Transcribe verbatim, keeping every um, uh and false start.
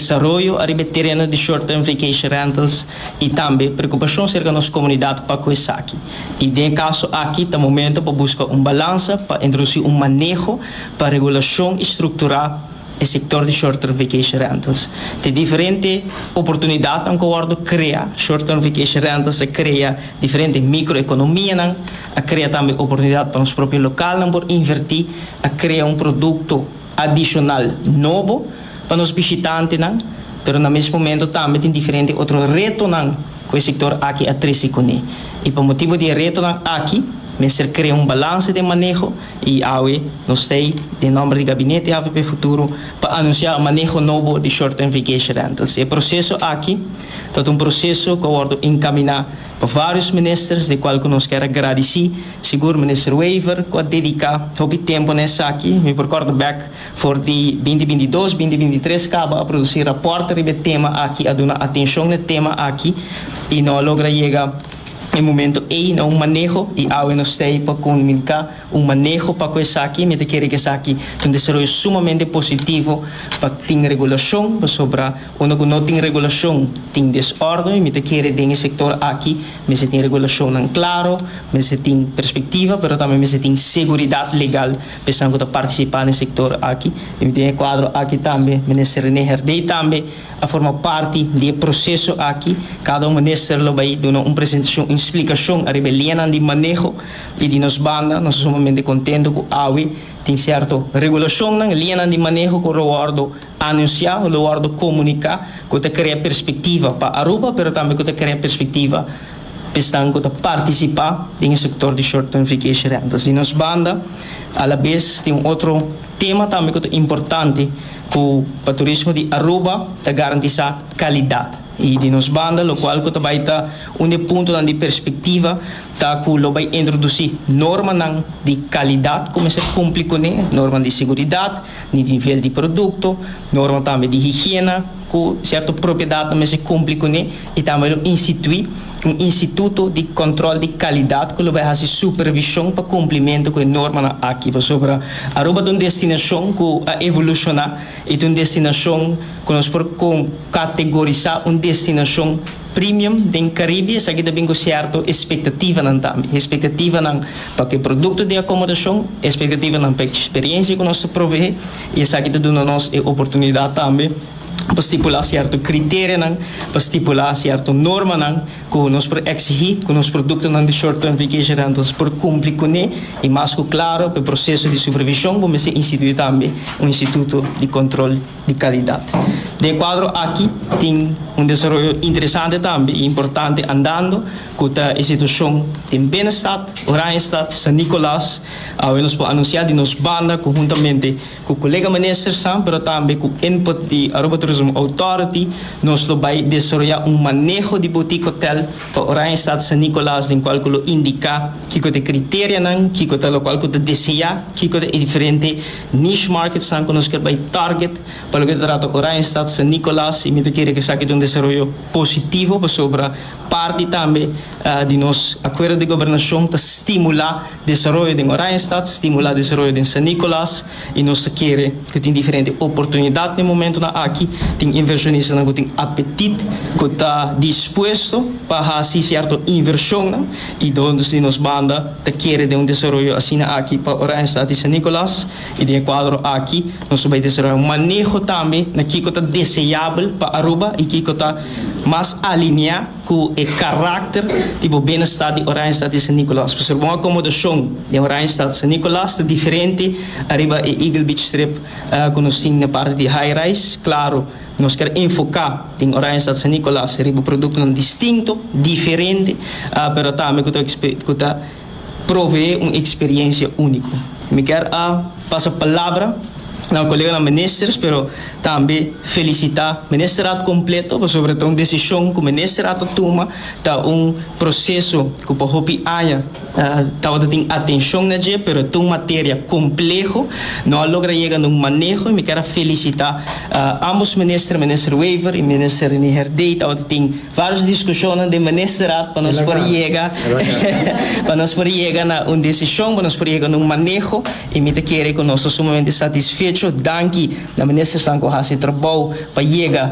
Desaroyo ariba tereno di short term vacation rentals y tambe preocupacion acerca nos comunidad pa cu esaki. Y den e caso aki ta momento pa busca un balansa, pa introduci un maneho pa regulacion y structura e sector di short term vacation rentals. Tin diferente oportunidad cu a wordo crea. Short term vacation rentals a crea diferente microeconomia, a crea tambe oportunidad pa nos propio local por inverti, a crea un producto adicional nobo pa nos bishitantenan, pero na mesun momento tambe tin diferente otro retonan cu e sector aki a trece cune. Y pa motibo di retonan aki, mester crea un balansa di maneho y awe nos tin den nomber di Gabinete A V P Futuro pa anuncia e maneho nobo di short term vacation rentals. E proceso aki ta un proceso cu a wordo encamina pa varios minister, di cual nos kier gradici, sigur minister Wever, cu a dedica hopi tempo na esaki. Mi por recorda back for di dos mil bintidos, dos mil bintitres caba a produci rapport riba e tema aki, a duna atencion na e tema aki y no a logra yega e momento ey na un maneho y awe nos tin pa comunica un maneho pa cu esaki. Mi ta kere cu esaki ta un desaroyo sumamente positivo pa tin regulacion, pasobra unda cu no tin regulacion tin desorden y mi ta kere den e sector aki mester tin regulacion cla, mester tin perspectiva, pero tambe mester tin seguridad legal pensando cu participa den e sector aki. Y den e cuadro aki tambe minister René Herdé tambe a forma parti di e proceso aki. Cada un minister lo bay duna un presentacion, un explicacion ariba liña di maneho y di nos banda nos ta sumamente contento cu awe tin cierto regulacion, liña di maneho cu lo wordo anuncia, lo wordo comunica, cu ta crea perspectiva pa Aruba, pero tambe cu ta crea perspectiva pa esnan cu ta participa den e sector di short term vacation rentals. Di nos banda, a la vez tin un otro tema tambe cu ta importante cu pa turismo di Aruba, ta garantisa calidad. Y di nos banda, lo cual cu tambe ta un punto di perspectiva, ta cu lo bay introduci norma di calidad, cu mester cumpli cune, norma di seguridad, di nivel di producto, norma tambe di higiena, cu cierto propiedad mester cumpli cune y tambe institui un instituto di control di calidad cu lo bay haci supervision pa cumplimento cu e norma aki. Pasobra Aruba ta un destinacion cu a evoluciona y ta un destinacion cu nos por categorisa un destinacion premium den Caribe. Esaki tambe cu cierto expectativa tambe, expectativa pa e producto di acomodacion, expectativa pa e experiencia cu nos ta provee y esaki ta duna nos e oportunidad tambe pa stipula cierto criterio, pa stipula cierto norma cu nos por exigi cu nos producto di short term vacation rentals por cumpli cune. Y mas cu cla, pa e proceso di supervision, ban institui tambe un instituto di control di calidad. Den e cuadro aki tin un desaroyo interesante tambe y importante andando cu e situacion den Binnenstad, Oranjestad, San Nicolas. Uh, nos por anuncia di nos banda, conhuntamente cu colega minister, pero tambe cu input di Aruba Tourism Authority, nos lo bay desaroya un maneho di boutique hotel pa Oranjestad, San Nicolas, den cual lo indica kico ta e criterionan, kico ta locual cu ta desea, kico ta e diferente niche markets cu nos kier bay target pa loke ta trata Oranjestad, San Nicolas. Y mi ta kere cu esaki ta un desaroyo positivo, pasobra parti tambe uh, di nos acuerdo di gobernacion ta stimula desaroyo di Oranjestad, stimula desaroyo di San Nicolas y nos kier cu tin diferente oportunidad na e momento aki, tin inversionista cu tin apetit, cu ta dispuesto pa haci cierto inversion y unda di nos banda ta kier di un desaroyo asina aki pa Oranjestad y San Nicolas. Y den e cuadro aki nos ta bay desaroya un maneho tambe na kico ta deseabel pa Aruba y kico ta mas alinea cu e caracter di bienestar di Oranjestad y San Nicolas. Pasobra un acomodacion di Oranjestad, San Nicolas ta diferente ariba e Eagle Beach Strip uh, cu nos tin na parti di high rise. Claro, nos kier enfoca den Oranjestad, San Nicolas riba producto distinto, diferente, uh, pero tambe cu ta provee un experiencia unico. Mi kier a pasa palabra na colega ministers, pero tambe felicita ministerraad completo, pasobra ta un decision cu ministerraad a tuma, ta un proceso cu pa hopi aña tabata tin atencion na dje, pero ta un materia compleho, no a logra yega na un maneho y mi kier felicita uh, ambos minister, minister Wever y minister René Herdé. Tabata tin varios discusion den ministerraad pa nos por yega pa nos por yega na un decision, pa nos por yega na un maneho y mi ta kere cu nos ta sumamente satisfecho. Danki na ministernan cu a haci trabou pa yega